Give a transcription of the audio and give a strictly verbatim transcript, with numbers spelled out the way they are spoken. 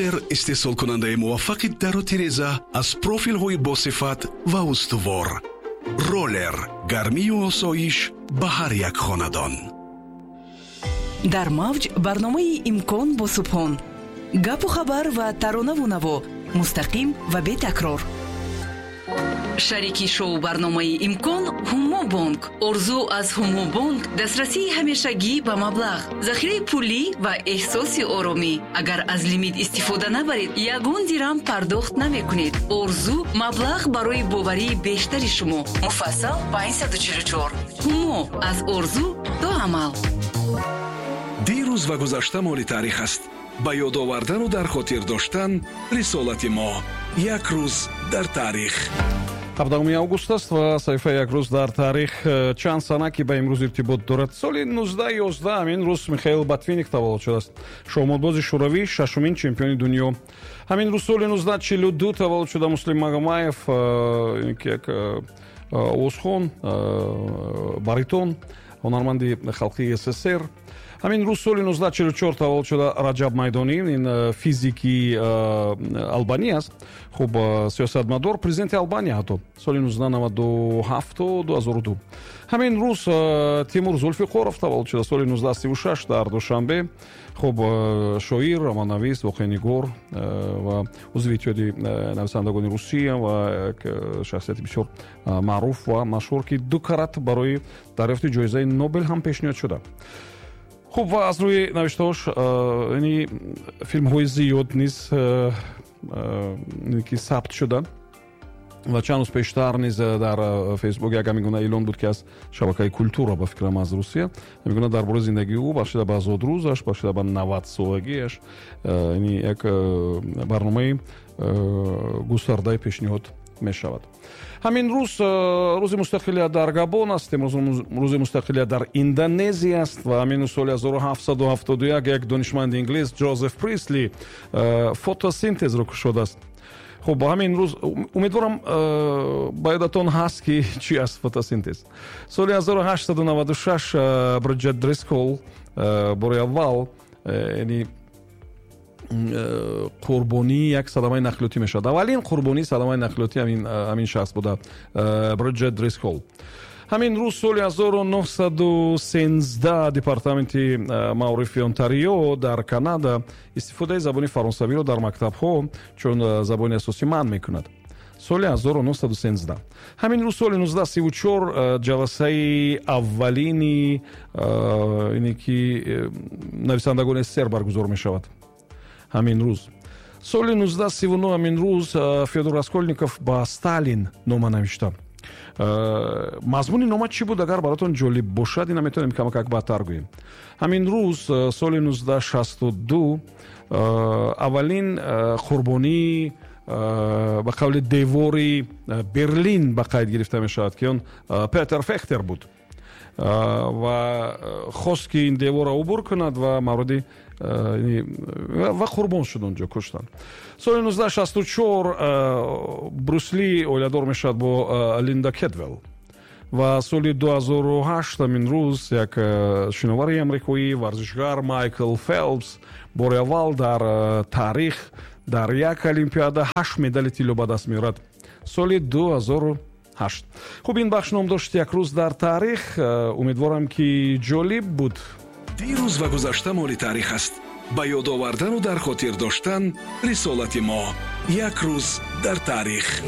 Роллер, истеҳсолкунандаи муваффақи дару тиреза аз профилҳои босифат ва устувор. Роллер, гармию осоиш ба ҳар як хонадон. Дар мавҷ барномаи «Имкон» бо Субҳон. Гапу хабар ва таронаву наво мустақим ва бетакрор. Шарики шоу барномаи «Имкон» Ҳумо Бонк. Орзу аз Ҳумо Бонк: дастрасии ҳамешагӣ ба маблағ, захираи пулӣ ва эҳсоси оромӣ. Агар аз лимит истифода набаред, ягон дирам пардохт намекунед. Орзу: маблағ барои боварии бештари шумо. Муфассал панҷсаду чилу чор. Ҳумо: аз орзу то амал. Дирӯз ва гузашта моли таърих аст. Ба ёд овардану дар хотир доштан рисолати мо. Як рӯз дар таърих. ҳабдаҳуми август аст ва саҳифаи «Як рӯз дар таърих» э, чанд сана, ки ба имрӯз иртибот дорад. Соли нуздаҳ ёздаҳ ҳамин рӯз Михаил Ботвинник таваллуд шудааст, шоҳмотбози шӯравӣ, шашумин чемпиони дунё. Ҳамин рӯз соли нуздаҳ чилу ду таваллуд шуда Муслим Магомаев, э, ки як э, овозхон, баритон, ҳунарманди халқии С С С Р. Ҳамин рӯз соли нуздаҳ чилу чор таваллуд шуда Раҷаб Майдонӣ, ин э, физики э, албанӣ аст. Хуб, э, сиёсатмадор, президенти Албания ҳатто соли нуздаҳ наваду ҳафту ду ҳазору ду. Ҳамин рӯз Тимур Зулфиқоров таваллуд шуда соли нуздаҳ сию шаш дар Душанбе. Хуб, шоир, романнавис, воқеанигор ва узви Иттиҳоди нависандагони Русия ва як шахсияти бисёр маъруф ва машҳур, ки ду карат барои дарёфти ҷоизаи Нобел ҳам пешниҳод шуда. Хуб, ва аз рӯи навиштаҳош яъни филмҳои зиёд низ ки сабт шуда. Ва чанд рӯз пештар низ дар Фейсбук як ҳамин гуна эълон буд, ки аз шабакаи «Культура», ба фикрам, аз Русия, ҳамин гуна дар бораи зиндагии ӯ, бахшида ба зодрӯзаш, бахшида ба навадсолагиаш, яъни як барномаи густардаи пешниҳод мешавад. Ҳамин рӯз рӯзи мустақилият дар Габон аст. Имрӯз рӯзи мустақилият дар Индонезия аст. Ва ҳамин соли ҳазору ҳафтсаду ҳафтоду як як донишманди инглис, Ҷозеф Присли, фотосинтезро кушодааст. Хуб, ҳамин рӯз, умедворам, ба ёдатон ҳаст, ки чӣ аст фотосинтез. Соли ҳазору ҳаштсаду наваду шаш Бриджет Дрискол бори аввал, яъни қурбонии як садамаи нақлиётӣ мешавад. Аввалин қурбонии садамаи нақлиётӣ ҳамин шахс буда, Бриджет Дрискол. Ҳамин рӯз соли ҳазору нуҳсаду сенздаҳ департаменти маорифи Онтарио дар Канада истифодаи забони фаронсавиро дар мактабҳо чун забони асосӣ манъ мекунад. Соли ҳазору нуҳсаду сенздаҳ. Ҳамин рӯз соли нуздаҳ сиву чор ҷаласаи аввалини ине ки нависандагони С С С Р баргузор мешавад. Ҳамин рӯз соли нуздаҳ сиву нӯҳ, ҳамин рӯз Фёдор Раскольников ба Сталин нома навишта. Мазмуни нома чӣ буд, агар баротон ҷолиб бошад, ина метавонем камакак баъдтар гӯем. Ҳамин рӯз соли нуздаҳ шасту ду аввалин қурбонии, ба қавли, девори Берлин ба қайд гирифта мешавад, ки он Петер Фехтер буд ва хост, ки ин деворро убур кунад ва мавриди ва қурбон шуд, онҷо куштанд. Соли нуздаҳ шасту чор Брюс Ли оиладор мешавад бо Линда Кедвелл. Ва соли ду ҳазору ҳашт ҳамин рӯз як шиновари амрикоӣ, варзишгар Майкл Фелпс бори аввал дар таърих дар як олимпиада ҳашт медали тилло ба даст меорад. Соли ду ҳазору ҳашт. Хуб, ин бахш ном дошт «Як рӯз дар таърих». Умедворам, ки ҷолиб буд. Дирӯз ва гузашта моли таърих аст. Ба ёд овардану дар хотир доштан рисолати мо. Як рӯз дар таърих.